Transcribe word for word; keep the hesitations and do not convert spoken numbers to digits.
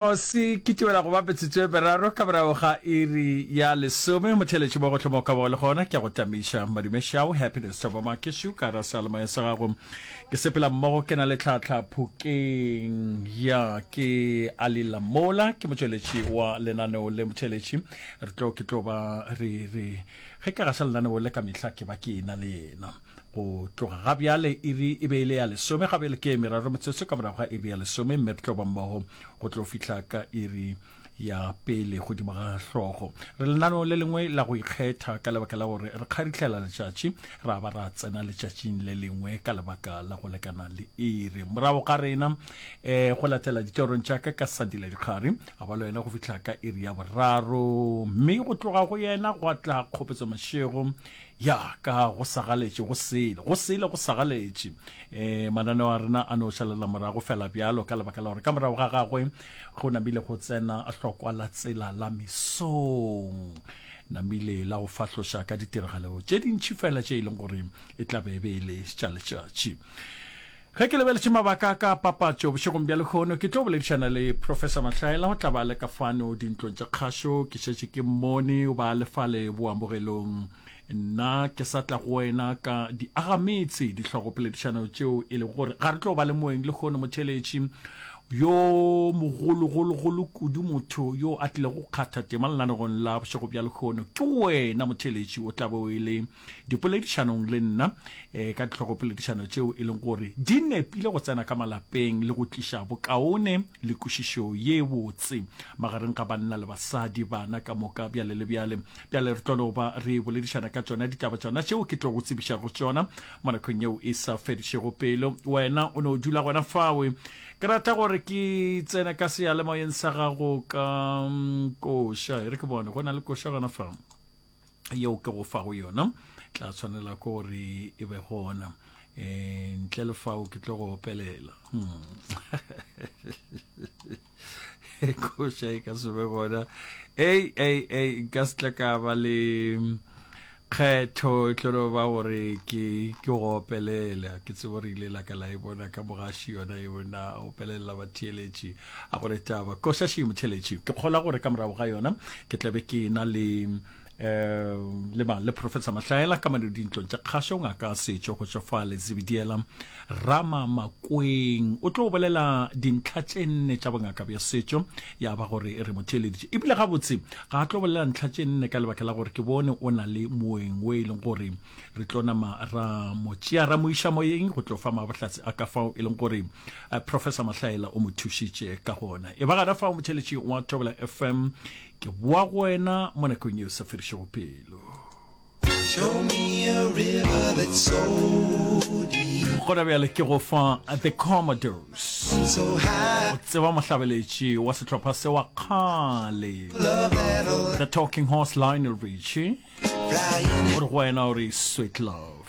Se kitimela go ba metsotso e meraro ka morago ga iri ya lesome. Motheeletši mo gohle mo o ka bago le gona, ke a go tamiša. Madume Šau, Happiness Thabo Makešu, ka ra seyalemoya sa gago. Ke sepela mmogo ke na le Tlhahla Phokeng. Ya, ke Ali Lamola, ke motšweletši wa lenaneo le. Motheeletši, re tlo, ke tlo ba re, re, ge ke gaša lenaneo le ka mehla ke ba ke ena le yena. Go tloga ga bjale iri e be e le ya lesome, ga bjale ke e meraro metsotso ka morago ga iri ya lesome, mme re tlo ba mmogo go tlo fihla ka iri ya pele godimo ga hlogo. Re lenaneo le lengwe la go ikgetha ka lebaka la gore re kgarihlela letšatši ra ba ra tsena letšatšing le lengwe ka lebaka la go lekana le iri. Morago ga rena um go latela ditorong tša ka ka Sandile Dikgari, a ba le wena go fihla ka iri ya boraro, mme go tloga go yena gwa tla Kgopetso Mashego. Ya, ka go sagaletše go sele, go sele go sagaletše. E, mananeo a rena a no šalela morago fela bjalo, ka lebaka la gore ka morago ga gagwe go namile go tsena hlokwa la tsela la mesong, namile la go fahloša ka ditiragalo tše dintši fela tše e leng gore e tla be e be e le tša letšatši. Ge ke lebeletše mabaka a ka a papatšo bošegong bja lehono, ke tlo boledišana le Professor Mahlaela, o tla ba a le ka fano dintlong tša kgašo. Ke šetše ke mmone, o ba a le fale boamogelong. Nna ke sa tla go wena ka diagametse, dihlogopoledišano tšeo e lego gore ga re tlo ba le moeng lehono, motheeletši yo mogologologolo kudu, motho yo a tlilego go kgatha tema lenanegong la bošego bja lehono ke wena motheeletši, o tla be o e le dipoledišanong le nna eh, ka dihlogopoledišano tšeo e leng gore di nepile go tsena ka malapeng le go tliša bokaone le kwešišo ye botse magareng ga banna le basadi, bana ka moka, bjale le bjale. Bjale re tlo no ba re boledišana ka tšona ditaba tšona tšeo ke tlo go tsebišago tšona mo nakong yeo e sa fedišego pelo. Wena o no dula gona fawe. Ke rata gore ke tsene ka seyalemoyeng sa gago ka mm, koša. E re ke bone, go na le koša gona fa yeo ke go fago yona, tla tshwanela ke gore e be gona. E, ntle le fao ke tlo go opelela. Hmm. Koša e ka se be gona. Ei, ei, ei, nka se tla ka ba le kgetho, e tlo no ba gore ke ke go opelela. Ke tsebo re ile la ka la e bona ka mogaši yona e bona opelela batheeletši a gore taba koša še motheeletši. Ke kgola gore ka morago ga yona ke tlabe ke na le um le mang le Professor Mahlaela ka mane dintlong tša kgašo, ngaka setšo go tšwa fa Letsibidiela Rama Makweng, o tlo bolela dintlha tše nne tša bongaka bja setšo, ya ba gore re mo theeleditše ebile gabotse ga a tlo bolela ntlha tše nne ka lebaka la gore ke bone o na le moeng o e leng gore re tlo nama ra mo tšea ra mo iša moyeng go tlo fa mabohlatse a ka fao e leng gore eh, Professor Mahlaela o mo thušitše ka gona. E ba gana fao motheeletši wa Thobela F M, ke boa go wena mo nakong yeo sa fedišego pelo. Show me a river that's so deep. Gona bjale ke go fa The Commodores. So high. O tseba mohlabeletši wa sehlopha se wa kgale, Love that'll The Talking Horse, Lionel Richie, fly in o re go wena o re Sweet Love.